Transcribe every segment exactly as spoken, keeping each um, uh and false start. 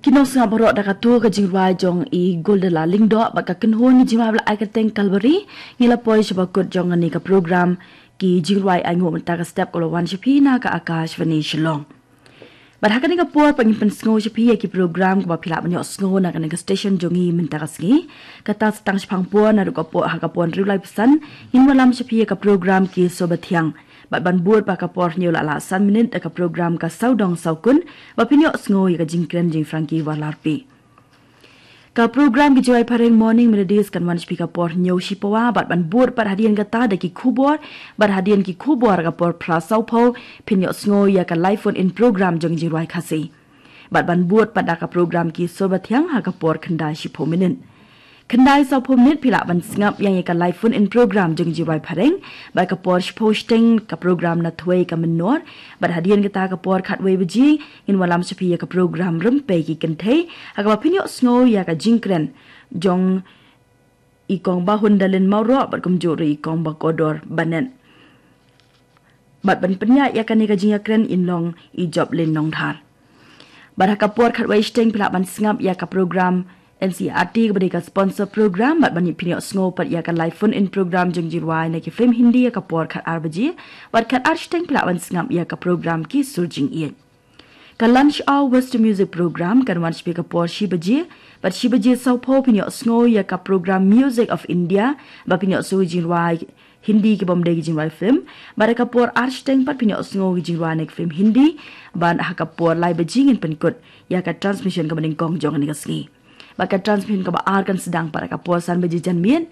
Ki nongsngap baroh, da katu ka jingrwai jong i Goldela Lyngdoh bad ka kynhun ki jingrwai ba la ai kyrteng Kalbari, ngi la poi sha bakut jong kane ka program ki jingrwai ainguh mynta ka step, ka la wan sha phi na ka Akashvani Shillong. Bad ha kane ka por pat ngin pynsngew sha phi ïa ki program kiba phi lah ban ïohsngew na kane ka station jong ngi mynta ka sngi. Kata sa tang shaphang por naduh ka por, ha ka por hynriew laiphew san, ngin wallam sha phi ïa ka program Ki Sur Bathiang. Bad ban bud pat ha ka por hynñiew la lah san minit da ka program Ka Sawdong Sawkun, ba phin ïohsngew ïa ka jingkren jong i Frankie Wallarpi. Ka program ki jingrwai phareng Morning Melodies kan wan sha phi ka por hynñiew shipawa, bad ban bud pat hadien kata da ki khubor, bad hadien ki khubor ka por phra sawphew, phin ïohsngew ïa ka live phone in program jong i jingrwai Khasi. Bad ban bud pat da ka program Ki Sur Bathiang ha ka por khyndai shiphew minit. Khyndai sawphew minit phi lah ban sngap ïa ka live phone in program jong i jingrwai phareng, bad ka por shiphew shiteng ka program Na Thwei Ka Mynnor, bad hadien kata ka por khatwei baje, ngin wallam sha phi ïa ka program Rympei Ki Kynthei, ha kaba phin ïohsngew ïa ka jingkren jong i Kong Bahun Dalin Mawroh bad kumjuh ruh i Kong Bakordor Banet. Bad ban pynïaid ïa kane ka jingïakren yn long i Joplin Nongdhar. Bad ha ka por khatwei shiteng phi lah ban sngap ïa ka program N C E R T kaba dei ka sponsor program, bad ban phin ïohsngew pat ïa ka live phone in program jong i jingrwai na ki film Hindi ha ka por khatar baje, bad khatar shiteng phi lah ban sngap ïa ka program Ki Sur Jingïeit. Ka Lunch Hour Western Music Program kan wan sha phi ka por shi baje, bad shi baje sawphew phin ïohsngew ïa ka program Music of India, ba phin ïohsngew jingrwai Hindi ki bym dei ki jingrwai film, bad ha ka por ar shiteng pat phin ïohsngew ki jingrwai na ki film Hindi, bad ha ka por lai baje ngin pynkut ïa ka transmission kaba nyngkong jong kane ka sngi. Bad ka transmission kaba ar kan sdang pat ha ka por san baje janmiet.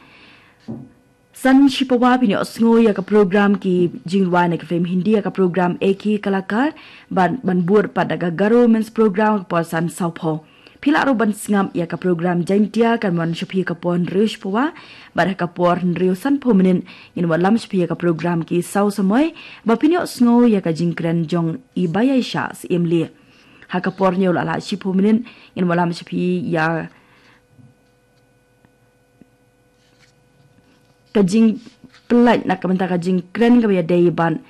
San shipawa phin ïohsngew ïa ka program ki jingrwai na ki film Hindi ha ka program Ek Hi Kalakar, bad ban bud pat da ka Garo Women's Program ha ka por san sawphew. Phi lah ruh ban sngap ïa ka program Jaintia kan wan sha phi ha ka por hynriew shipawa, bad ha ka por hynriew sanphew minit ngin wallam sha phi ïa ka program Ki Saw Samoi, ba phin ïohsngew ïa ka jingkren jong i Bayaisha Syiemlieh. Ha ka por hynñiew la lah shiphew minit ngin wallam sha phi ïa ka jingpyllait na ka bynta ka jingkren kaba ïadei bad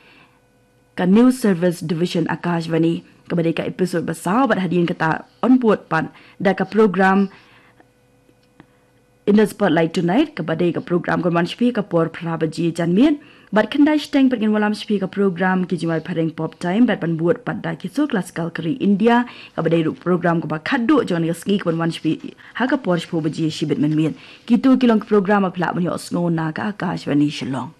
ka News Service Division Akashvani, kaba dei ka episode ba saw, bad hadien kata yn bud pat da ka program In the Spotlight Tonight, kaba dei ka program kan wan sha phi ha ka por phra baje janmiet. Bad khyndai shiteng pat ngin wallam sha phi ïa ka program ki jingrwai phareng Pop Time, bad ban bud pat da Ki Sur Classical ka ri India, kaba dei ruh program kaba khatduh jong kane ka sngi kaban wan sha phi ha ka por shiphew baje shibit mynmiet. Kito ki long ki program ba phi lah ban ïohsngew na ka Akashvani Shillong.